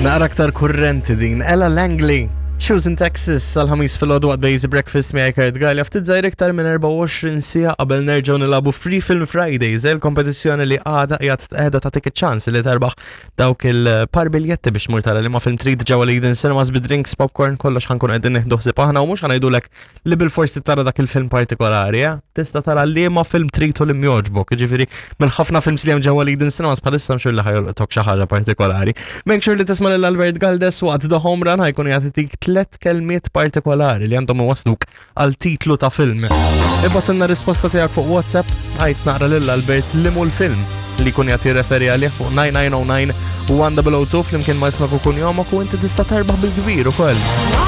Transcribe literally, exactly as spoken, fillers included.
Naqra aktar kurrenti din, Ella Langley. Choosing Texas, sal-ħamis fil-ħodu għad Bejzi Breakfast miegħi Kurt Gallia, ftit żgħir iktar minn erbgħa u għoxrin siegħa qabel nerġgħu nilagħbu Free Film Fridays, il-kompetizzjoni li għada qiegħed qiegħda tagħtik iċ-ċans li terbaħ dawk il-par biljetti biex tmur tara liema film trid ġewwa l-Eden Cinemas bi drinks, popcorn, kollox ħa nkun qegħdin nieħdu ħsieb aħna u mhux ħa ngħidulek li bil-forsi tara dak il-film partikolari, eh? Tista' tara liema film trid u li jogħġbok, jiġifieri mill-ħafna films li hemm ġewwa l-Eden Cinemas bħalissa mxur li ħa jolqtok xi ħaġa partikolari. Make sure li tisma' lil Albert Galdes waqt The Home Run, ħa jkun jagħtik tlet kelmiet partikolari li għandhom iwasluk għal titlu ta' film. Ibgħatilna risposta tiegħek fuq WhatsApp, għid naqra lil Albert liema hu l-film li jkun qed jirreferi għalih fuq nine nine zero nine u one zero zero two flimkien ma' ismek u kunjomok u inti tista' terbaħ bil-kbir ukoll.